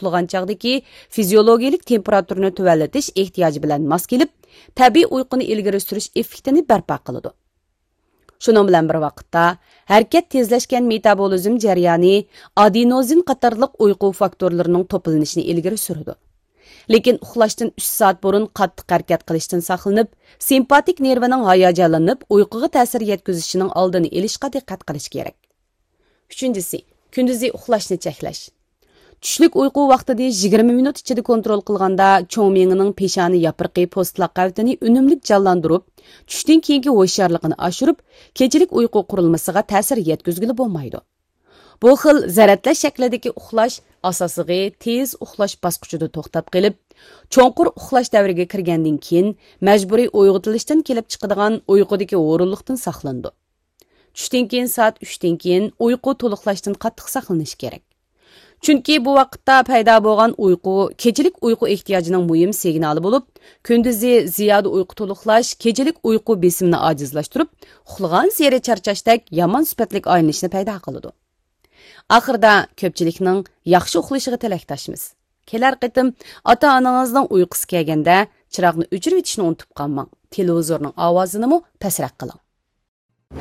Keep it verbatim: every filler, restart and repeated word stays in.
ئۇخلىغان چاغدىكى فىزىيولوگىيەلىك تېمپېراتۇرىنى تۆۋەنلىتىش ئېھتىياجى بىلەن ماس كېلىپ، تەبىئىي ئۇيقۇنى ئىلگىرى سۈرۈش ئېففېكتىنى بەرپا قىلىدۇ. شۇنىڭ بىلەن بىر ۋاقىتتا، ھەرىكەت تېزلەشكەن مېتابولىزم جەريانى ئادېنوزىن قاتارلىق ئۇيقۇ فاكتورلىرىنىڭ توپلىنىشىنى ئىلگىرى سۈرىدۇ. لېكىن ئۇخلاشتىن ئۈچ سائەت بۇرۇن قاتتىق ھەرىكەت قىلىشتىن ساقلىنىپ، سىمپاتىك نېرۋىنىڭ ھاياجانلىنىپ، ئۇيقۇغا تەسىر يەتكۈزۈشىنىڭ ئالدىنى ئېلىشقا دىققەت قىلىش كېرەك. ئۈچىنچىسى، كۈندۈزى ئۇخلاشنى چەكلەش. چۈشلۈك ئۇيقۇ ۋاقتىنى يىگىرمە مىنۇت ئىچىدە كونترول قىلغاندا، چوڭ مىيىڭنىڭ پېشانە ياپرىقى پوستلاق قەۋىتىنى ئۈنۈملۈك جانلاندۇرۇپ، چۈشتىن كېيىنكى ھوشيارلىقىنى ئاشۇرۇپ، كېچىلىك ئۇيقۇ قۇرۇلمىسىغا تەسىر يەتكۈزگىلى بولمايدۇ. بۇ خىل زەرەتلەش شەكلىدىكى ئۇخلاش ئاساسلىقى تېز ئۇخلاش باسقۇچىدا توختاپ قېلىپ، چوڭقۇر ئۇخلاش دەۋرىگە كىرگەندىن كېيىن مەجبۇرىي ئويغىتىلىشتىن كېلىپ چىقىدىغان ئۇيقۇدىكى ھۇرۇنلۇقتىن ساقلىنىدۇ. چۈشتىن كېيىن سائەت ئۈچتىن كېيىن ئۇيقۇ تولۇقلاشتىن قاتتىق ساقلىنىش كېرەك. چۈنكى بۇ ۋاقىتتا پەيدا بولغان ئۇيقۇ كېچىلىك ئۇيقۇ ئېھتىياجىنىڭ مۇھىم سىگنالى بولۇپ، كۈندۈزى زىيادە ئۇيقۇ تولۇقلاش كېچىلىك ئۇيقۇ بېسىمىنى ئاجىزلاشتۇرۇپ، ئۇخلىغانسېرى چارچاشتەك يامان سۈپەتلىك ئايلىنىشنى پەيدا قىلىدۇ. ئاخىرىدا كۆپچىلىكنىڭ ياخشى ئۇخلىشىغا تىلەكداشمىز. كېلەر قېتىم ئاتا-ئانىڭىزنىڭ ئۇيقۇسى كەلگەندە، چىراغنى ئۆچۈرۈۋېتىشنى ئۇنتۇپ قالماڭ. تېلېۋىزورنىڭ ئاۋازىنىمۇ پەسرەك قىلىڭ.